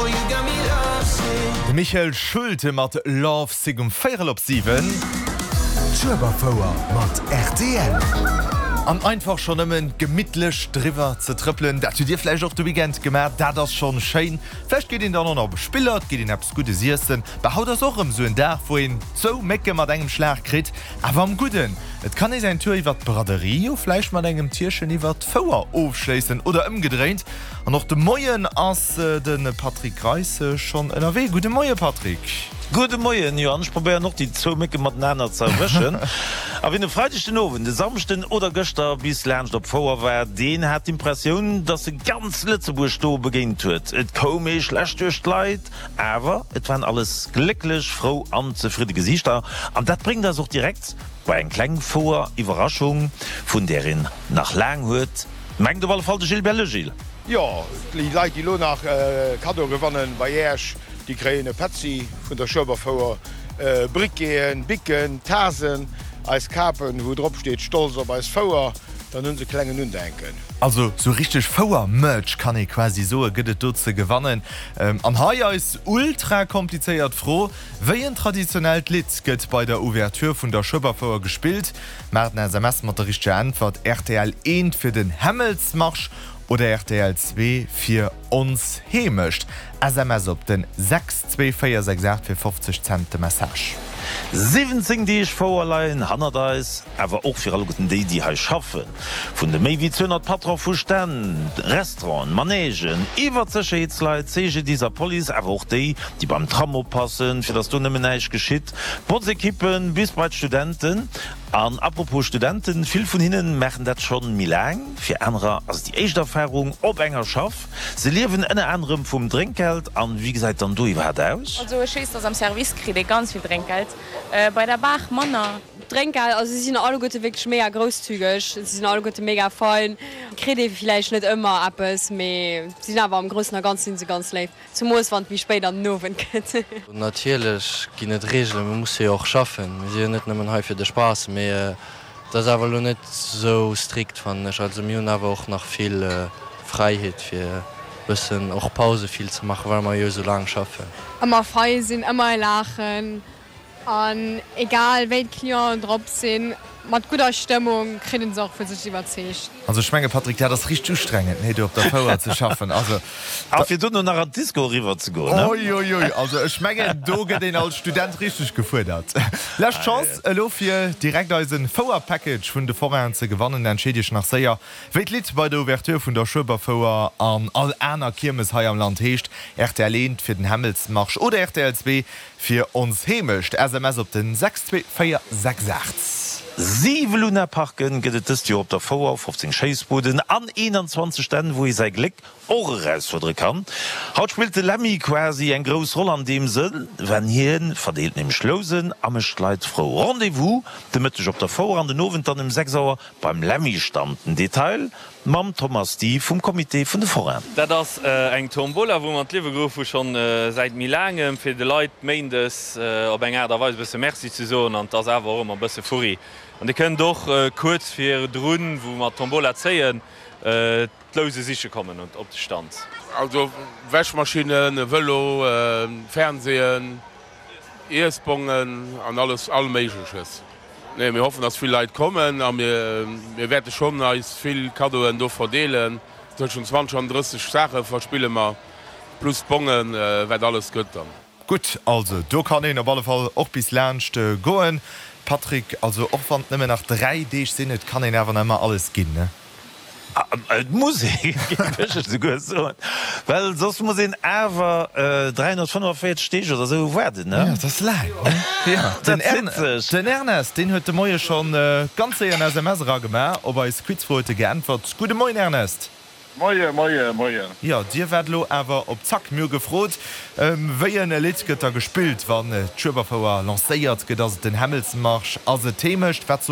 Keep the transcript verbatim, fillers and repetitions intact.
De Michael Schulte mat Love Sick um véierel op siwen. D'Schueberfouer mat rtl. An einfach schonn nëmmen gemittlech driwwer ze trëppelen, dat hutt Dir vläicht och de Weekend gemaach, dat ass schonn schéin. Vläicht geet een dann och nach op e Spillert, geet een eppes Guddes iessen. Bah, haut ass och erëm esou en Dag, wou een zwou Mécke mat engem Schlag kritt, awer am Gudden. Et kann ee säin Tour iwwer d'Braderie jo vläicht mat engem Tierchen iwwer d'Fouer ofschléissen oder ëmgedréint. An och de Moien ass de Patrick Greis schonn ënnerwee. Gudde Moie Patrick. Gudde Moien, jo an ech probéieren och déi zwou Mécke matenaner ze erwëschen. A wien e Freideg den Owend, e Samschden oder gëschter bis laanscht op d'Fouer war, deen hat d'Impressioun, dass e ganz Lëtzebuerg do begéint huet. Et koum ee schlecht duerch d'Leit, awer et waren alles glécklech, frou an zefridde Gesiichter. An dat bréngt eis och direkt bei eng kleng Fouer-Iwwerraschung, vun där een nach laang huet, mengt op alle Fall de Gilbert Legil. Jo, déi Leit déi elo nach Kaddoe gewannen bei Äerch, déi kréien e Petzi vun der Schueberfouer, Briqueten, Bicken, Tasen, eis Kapen wou drop steet Stolz op eis Fouer, dann hunn se e klengen Undenken. Also sou richteg Fouer-Merch kann ee quasi soe gëtt et do ze gewannen. An hei eis ultra komplizéiert Fro, Wéi en traditionellt Lidd gëtt bei der Ouverture vun der Schueberfouer gespillt? Maacht en S M S mat der richteger Äntwert, rtl eent fir den Hämmelsmarsch oder rtl zwee fir Ons Heemecht. S M S op den sechs zwee véier sechs aacht fir fofzeg Cent de Message. siwwenzéng Deeg Fouer leien hannert eis, awer och fir alleguerten déi, déi hei schaffen. Vun de méi wéi zweehonnert Patron vu Stänn, Restauranten, Manègen, iwwer d'Sécherheetsleit, C G D I S a Police, awer och déi, déi beim Tram oppassen, fir datt do nëmmen näischt geschitt, d'Botzekippen bis bei d'Studenten. An apropos Studenten, vill vun hinnen maachen dat schonn méi laang, fir anerer ass et déi éischt Erfarung op enger Schaff. Se liewen ënner anerem vum Drénkgeld. An wéi gesäit dann do iwwerhaapt aus? Also ech weess, dass am Service kritt ee ganz vill Drénkgeld, bei der Bar manner. Drénkgeld, also si sinn alleguerte wierklech mega grousszügeg, si sinn alleguerte mega fein. Kritt ee villäicht net ëmmer eppes, mee si sinn awer am Groussen a Ganze si se ganz léif, zemoos wann et méi spéit an den Owend gëtt. Natierlech ginn et Reegelen, mir musse jo och schaffen, mir si jo net nëmmen hei fir de Spaass, mee et ass awer elo net esou strikt fannen ech. Also mir hunn awer och nach vill Fräiheet fir bëssen och Pause vill ze maachen, well mer jo esou laang schaffen. Ëmmer fei sinn, ëmmer laachen an egal wéi d'Clienten drop sinn, mat gudder Stëmmung kritt een se och vu sech iwwerzeegt. Also ech menge Patrick, dat ass richteg ustrengend, nee, do op der Fouer ze schaffen. Also A fir dono nach an d'Disco eriwwer ze goen, ne? Oi, oi, oi, also ech mengen do gëtt een als Student richteg gefuerdert. Lescht Chance elo fir direkt eisen Fouer-Package vun de Forainen ze gewannen. Entscheet iech nach séier wéi d'Lidd bei der Ouverture vun der Schueberfouer an all aner Kiermes hei am Land heescht. Rtl eent fir den Hämmelsmarsch oder rtl zwee fir Ons Heemecht. S M S op den sechs zwee véier sechs aacht. Siwe Lunaparken gëtt et dëst Joer op der Fouer, fofzéng Schéissbuden an eenanzwanzeg Stänn, wou ee säi Gléck och erausfuerdere kann. Haut spillt de Lemmy quasi eng grouss Roll an deem Sënn, well hien verdeelt nämlech Lousen a mécht d'Leit frou. Rendez-vous de Mëtteg op der Fouer an den Owend dann um sechs Auer beim Lemmy-Stand. Den Detail mam Thomas Di vum Comité vun de Forainen. Dat ass eng Tombola, wou mer an d'Liewe geruff hu schonn säit méi laangem, fir de Leit méindes op eng Aart a Weis e bësse Merci ze soen. An et ass awer och ëmmer e bësse Furri. An Dir kënnt och kuerz virdrun, wou mer d'Tombola zéien, d'Louse siche kommen op de Stand. Also Wäschmaschinnen, e Vëlo, Fernseeën, Iessbongen an alles, all Méigleches. Nee, mir hoffen, dass vill Leit kommen a mir mir wäerte schonn eis vill Kaddoen do verdeelen. Tëschent zwanzeg an drësseg Saache verspille mer, plus d'Bongen, wat alles gëtt dann. Gutt, also do kann een op alle Fall och bis laanscht goen. Patrick, also och wann et nëmmen nach dräi Deeg sinn, et kann een awer nach ëmmer alles ginn, ne? Et muss ee, géif ech esouguer soen, well soss muss een awer dräihonnertfënnefenvéierzeg Deeg oder esou waarden, ne? Jo, dat ass laang, ne? Jo, den den Ernest, deen huet de Moie schonn ganz séier en S M S eragemaach, op eis Quizfro huet e geäntwert. Gudde Moien, Ernest! Moie, moie, moien. Jo, dir waart elo awer op Zack. Mir hu gefrot, wéi en Lidd gëtt da gespillt, wann d'Schueberfouer lancéiert gëtt? Ass et den Hämmelsmarsch? Ass et d'Heemecht? Wat sot